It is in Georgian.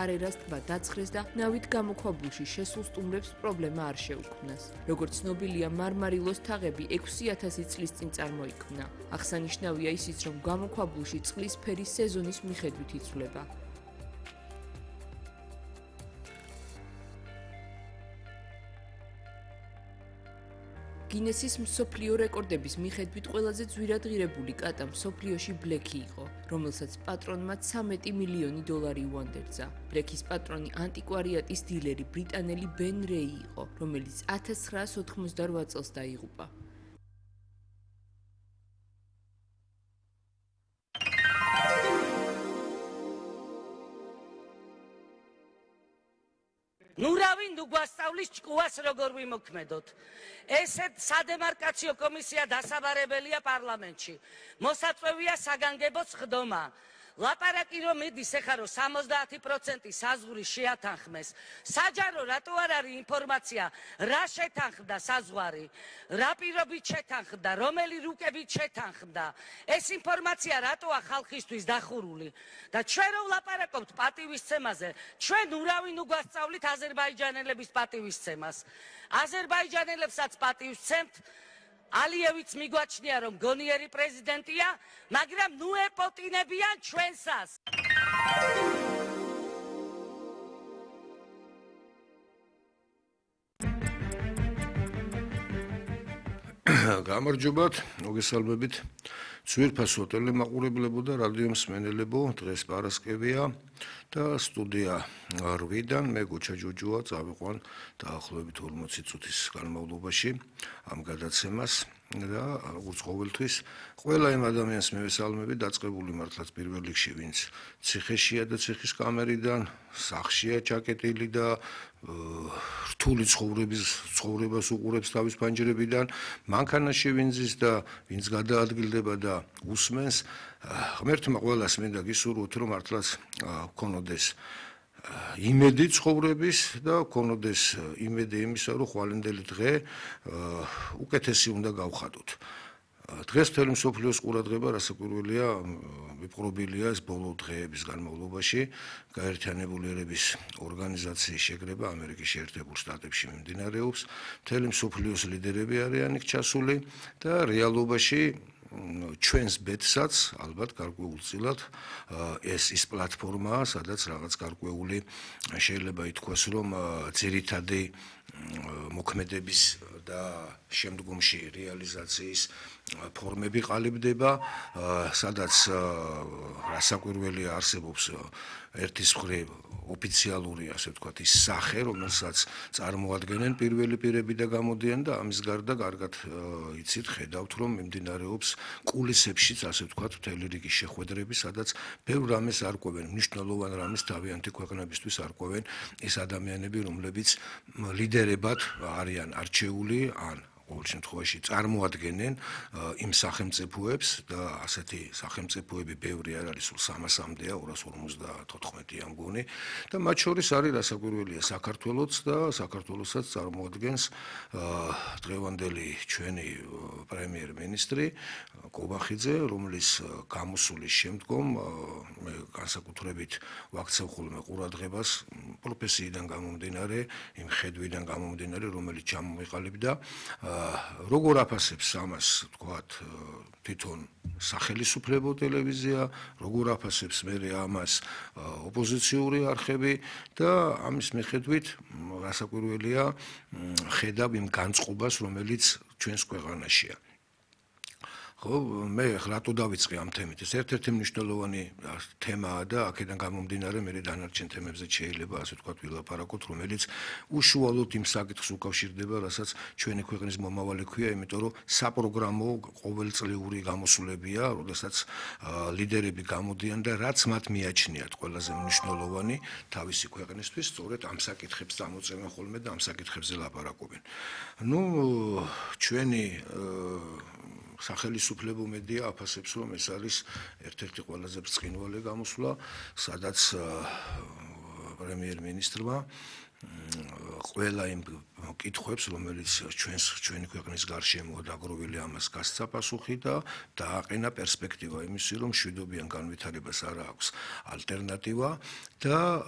არერას ტბა დაცხრეს და ნავით გამოქვაბულში შესულ სტუმრებს პრობლემა არ შეუქმნას. როგორც ცნობილია, მარმარილოს თაღები 6000 წლის წინ წარმოიქმნა. აღსანიშნავია ისიც, რომ გამოქვაბულში წყლის ფერი სეზონის მიხედვით იცვლება. გინესის მსოფლიო რეკორდების მიხედვით ყველაზე ძვირად ღირებული კატა მსოფლიოში ბლექი იყო, რომელსაც პატრონმა 13 მილიონი დოლარი უანდერძა. ბლექის პატრონი ანტიკვარიატის დილერი ბრიტანელი ბენ რეი იყო, რომელიც 1988 წელს დაიღუპა. ნურავინ უგვასწავლის ჭკუას როგორ ვიმოქმედოთ. ესეთ სადემარკაციო კომისია დასაბარებელია პარლამენტში. მოსაწვევია საგანგებო სხდომა. ლაპარაკი რომ მიდის ეხლა რომ 70% საზღვრის შეათანხმეს. საჯარო რატო არ არის ინფორმაცია რა შეთანხმდა საზღვარი, რა პირობით შეთანხმდა, რომელი რუკებით შეთანხმდა. ეს ინფორმაცია რატოა ხალხისთვის დახურული და ჩვენ რომ ვლაპარაკობთ პატივისცემაზე, ჩვენ ურავინ უგვასწავლით აზერბაიჯანელების პატივისცემას. აზერბაიჯანელებსაც პატივისცემთ. ალიევიც მიგვაჩნია რომ გონიერი პრეზიდენტია, მაგრამ ნუ ეპოტინებიან ჩვენსას. გამარჯობათ, მოგესალმებით. ძვირფასო ტელემაყურებლებო და რადიო მსმენელებო, დღეს პარასკევია და სტუდია 8-დან მე გოჩა ჯოჯოა წავიყვან დაახლოებით 40 წუთის განმავლობაში ამ გადაცემას და როგორც ყოველთვის ყველა იმ ადამიანს მევესალმები დაწყებული მართლაც პირველ რიგში ვინც ციხეშია და ციხის კამერიდან სახლშია ჩაკეტილი და რთული ცხოვრებას უყურებს თავის ფანჯრებიდან მანქანაში ვინც ზის და ვინც გადაადგილდება და უსმენს ღმერთმა ყველას მინდა გისურვოთ რომ მართლაც გქონოდეს იმედი ცხოვრების და გქონოდეს იმედი იმისა რომ ხვალინდელი დღე უკეთესი უნდა გავხადოთ. დღეს მთელი მსოფლიოს ყურადღება რასაკვირველია მიპყრობილია ეს ბოლო დღეების განმავლობაში გაერთიანებული ერების ორგანიზაციის შეკრება ამერიკის შეერთებულ შტატებში მიმდინარეობს. მთელი მსოფლიოს ლიდერები არიან იქ ჩასული და რეალობაში ჩვენს ბედსაც ალბათ გარკვეულწილად ეს ის პლატფორმაა, სადაც რაღაც გარკვეული შეიძლება ითქვას, რომ ძირითადი მოქმედების და შემდგომში რეალიზაციის ფორმები ყალიბდება, სადაც რასაკვირველია არსებობს ერთის მხრივ ოფიციალური, ასე ვთქვათ, ის სახე, რომელსაც წარმოადგენენ პირველი პირები და გამოდიან და ამის გარდა კარგად იცით, ხედავთ, რომ მიმდინარეობს კულისებშიც, ასე ვთქვათ, მთელი რიგი შეხვედრები, სადაც ბევრ რამეს არკვევენ, მნიშვნელოვან რამეს თავიანთი ქვეყნებისთვის არკვევენ ეს ადამიანები, რომლებიც ლიდერებად არიან არჩეული ან ყოველ შემთხვევაში წარმოადგენენ იმ სახელმწიფოებს და ასეთი სახელმწიფოები ბევრი არ არის, სულ 300-მდეა, 254-ია მგონი და მათ შორის არის რასაკვირველია საქართველოც და საქართველოსაც წარმოადგენს დღევანდელი ჩვენი პრემიერ-მინისტრი კობახიძე, რომლის გამოსulis შემდგომ მე განსაკუთრებით ვაქცევ ხოლმე ყურადღებას პროფესიიდან გამომდინარე, იმ ხედვიდან გამომდინარე, რომელიც ჩამომიყალიბდა როგორ აფასებს ამას, თქვათ, თვითონ სახელისუფლებო ტელევიზია, როგორ აფასებს მერე ამას ოპოზიციური არხები და ამის მიხედვით რასაკვირველია ხედავ იმ განწყობას, რომელიც ჩვენს ქვეყანაშია. ხო, მე რატო დავიწყე ამ თემით? ეს ერთ-ერთი მნიშვნელოვანი თემაა და აქედან გამომდინარე მე დანარჩენ თემებზე შეიძლება ასე ვთქვათ ვილაპარაკოთ, რომელიც უშუალოდ იმ საკითხს უკავშირდება, რასაც ჩვენი ქვეყნის მომავალი ქვია, იმიტომ რომ საპროგრამო ყოველწლიური გამოსვლებია, როდესაც ლიდერები გამოდიან და რაც მათ მიაჩნიათ ყველაზე მნიშვნელოვანი თავისი ქვეყნისთვის, სწორედ ამ საკითხებს წამოწევენ ხოლმე და ამ საკითხებზე ლაპარაკობენ. ნუ ჩვენი სახელისუფლებო მედია აფასებს, რომ ეს არის ერთ-ერთი ყველაზე ბრწყინვალე გამოსვლა, სადაც პრემიერ-მინისტრმა ყველა იმ კითხვებს, რომელიც ჩვენი ქვეყნის გარშემოა დაგროვილი, ამას გასცა პასუხი და დააყენა პერსპექტივა იმისი, რომ მშვიდობიან განვითარებას არ აქვს ალტერნატივა და